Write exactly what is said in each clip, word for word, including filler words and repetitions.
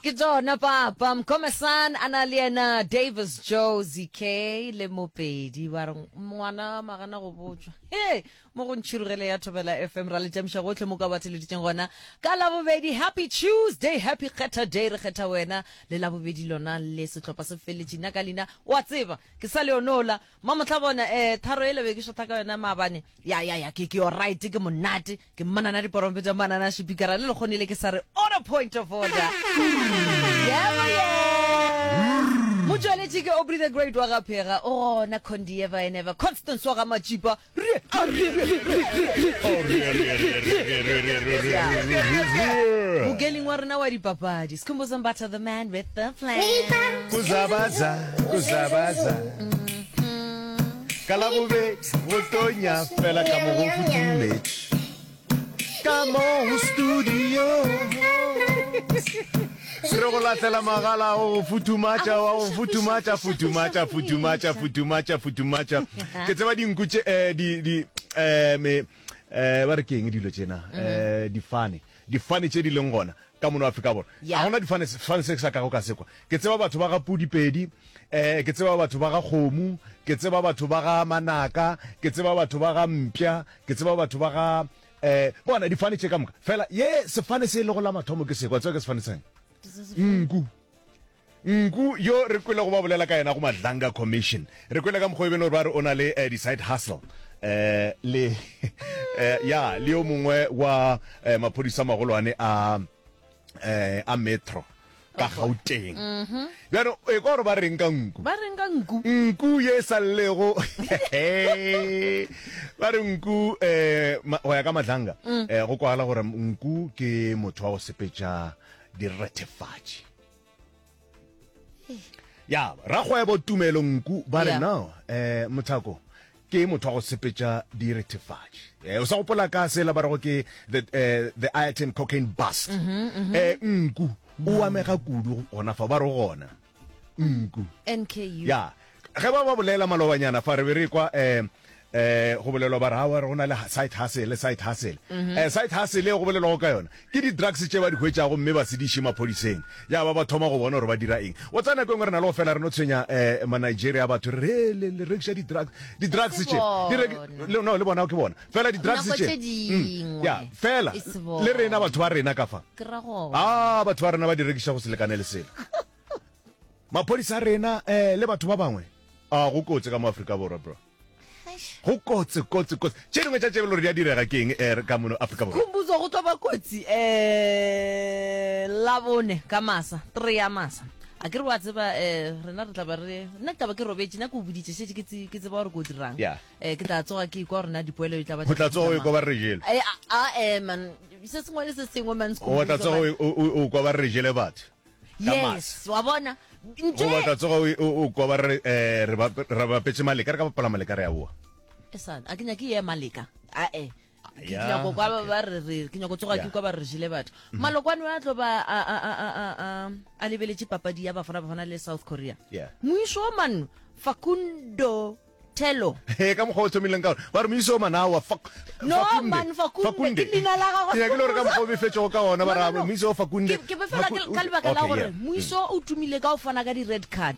Ke tsona papa Mkomesan a na le yena Davis Joe Z K le Mopedi ba re ngwana magana go botšwa. He mo go ntšhirogele ya Thobela F M ra le tšamiša gohle mo ka ba theleditšeng gona ka Labobedi. Happy Tuesday, happy kgetha day, re kgetha wena le Labobedi lona le sehlopha se feletše. Nna ka leina wa tseba ke sa Leonola mamohla bona eh tharo e lebe ke shotha ka yona maabane. Ya ya ya ke ke yo right ke monate ke mmanana diporompeta mmanana shipikara le lekgonile ke sa re order point of order. Yeah, yeah. Motšweletši ke Aubrey the Great wa ga Phega, o gona Condi ever and ever, Constance wa ga Matšipa. Mokeling wa rena wa dipapadi, Skhumbuzo Mbatha, the man with the plan. Kuzabaza, kuzabaza. Ka Labobedi go tonya fela ka mo go futhumetše. Ka mo go studio. Re go lahlela magala o go futhumatša, wa go futhumatša, futhumatša, futhumatša, futhumatša, futhumatša. Ke tseba dinku tše, eh, di, di, eh, me, eh, ba re ke eng dilo tšena? Eh, difane. Difane tše di leng gona ka mono Afrika Borwa. Ya. Ga gona difane, sefane se ke sa kago ka sekwa. Ke tseba batho ba ga Pudipedi, eh, ke tseba batho ba ga Kgomo, ke tseba batho ba ga Manaka, ke tseba batho ba ga Mpša, ke tseba batho ba ga, eh, bona difane tše ka moka. Fela ye sefane se e lego la mathomo ke sekwa, tseba ke sefane seng? Nku. Nku yo re kwele go ba bolela ka yena go Madlanga Commission. Re kwele ka mokgwa e bene gore ba re o na le, eh, di-side hustle. Eh, le, eh, ya, le yo mongwe wa, eh, maphodisa magolwane a, eh, a metro ka Gauteng. Bjano, e kwa gore ba reng ka nku? Ba reng ka nku? Nku ye sa llego. Ba re nku, eh, ma-, go ya ka Madlanga, Mm. eh, go kwagala gore nku ke motho wa go sepetša direthefatši. Ya, rakgwebo Tumelo Nku ba re Yeah. no, eh, Mothako ke motho wa go sepetša direthefatši. Eh, o sa gopola ka sela ba rego ke the, eh, the Ayrton cocaine bust. Mm-hmm, mm-hmm. Eh, nku o amega kudu gona fa ba re gona. Nku. N K U. Ya. Ge ba ba bolela malobanyana fa re be re kwa, eh, eh, go bolelwa ba re, aowa, re go na le side hustle, side hustle. Mm-hmm. Eh, side hustle e go bolelwago ka yona ke di-drugs tše ba di hwetšago mme ba se di iše maphodiseng. Ya ba ba thoma go bona gore ba dira eng. Wa tseba nako e nngwe re na le go fela re no tshwenya, eh, ma-Nigeria batho re re, le, le rekiša di-drugs, di-drugs E se tše, di reki-, bona. le, no, le bona ke bona. Fela di-drugs Nako tše, tše mm, dingwe. ya, fela, E se le rena bona. batho ba rena ka fa. Ke ra gona. Ah, batho ba rena ba di rekiša go se lekane le selo. Maphodisa a rena, eh, le batho ba bangwe. Ah, go kotsi ka mo Afrika Borwa, bro. Go kotsi, kotsi, kotsi. Tše dingwe tša tše bjalo di a direga ke eng, eh, ka mono Afrika Borwa? Khumbudzo go tlo ba kotsi, eh, Labone ka masa, three ya masa. A ke re wa tseba, eh, rena re tla ba re, nna ke tla ba ke robetše, nna ke o boditše, šetše ke tse-, ke tseba gore ko dirang. Yeah. Eh, ke tla tsoga ke ikwa gore na dipoelo di tla ba Go tla tsoga o tša ikwa ba re jele. Eh, a, a, eh, man, se sengwe le se sengwe, man, O tla tsoga o, o, o kwa ba re jele batho. Ka Yes, masa. wa bona. Ntle Go batla tsoga o, o, o kwa ba re, eh, re ba, re bapetše maleka, re ka bapala maleka re a boa. E sana, a ke nyake ye maleka. A, eh. Ke Ya, nyako kwa ba okay. ba re re, ke nyako tsoga ke Ya. kwa ba re jele batho. Mm-hmm. Malokwane a tlo ba a, a, a, a, a, a, a lebeletše papadi ya Bafana Bafana le South Korea. Yeah. Moiso wa man, Facundo Tello. He, ka mokgwa o thomileng ka ona. Ba re moiso wa manawa, Fak-, No, Fakunde. man, Fakunde, Fakunde. ke leina la gagwe. Ke nyakile gore ka mokgwa o befetšego ka ona, ba No, re, no, no. moiso wa Fakunde. Ke, ke befela Faku-, ke, ka lebaka la Okay, gore yeah. moiso o tumile ka go fana ka di-red card.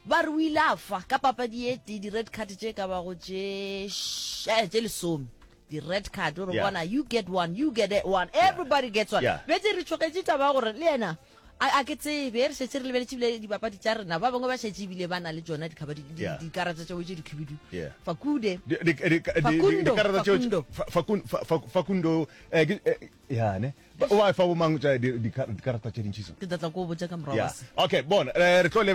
Ba re o ile a fa ka papadi e tee di-red card tše ka bago tše š-, eh, tše lesome. Di-red card, gore Yeah. bona, you get one, you get one, everybody gets one. Yeah. Bjale re tšhogetše taba ya gore le yena, a, a ke tsebe, re šetše re lebeletše ebile dipapadi tša rena, ba bangwe ba šetše ebile ba na le tšona dikhaba, di, di, Yeah. dikarata tša bo tše dikhibidu. Yeah. Fakude. Di, di, di, di, di, Facundo, dikarata tšeo Facundo. Fa-, Facun-, Fa-, Fa-, Facundo, eh, ke, eh, ya, ne? Ba, o ba fa bomang tša di, di, dikarata tše dintši so? Ke tla tla ko botša ka morago Yeah. ga se. Okay, bona, eh, re tlo lebelela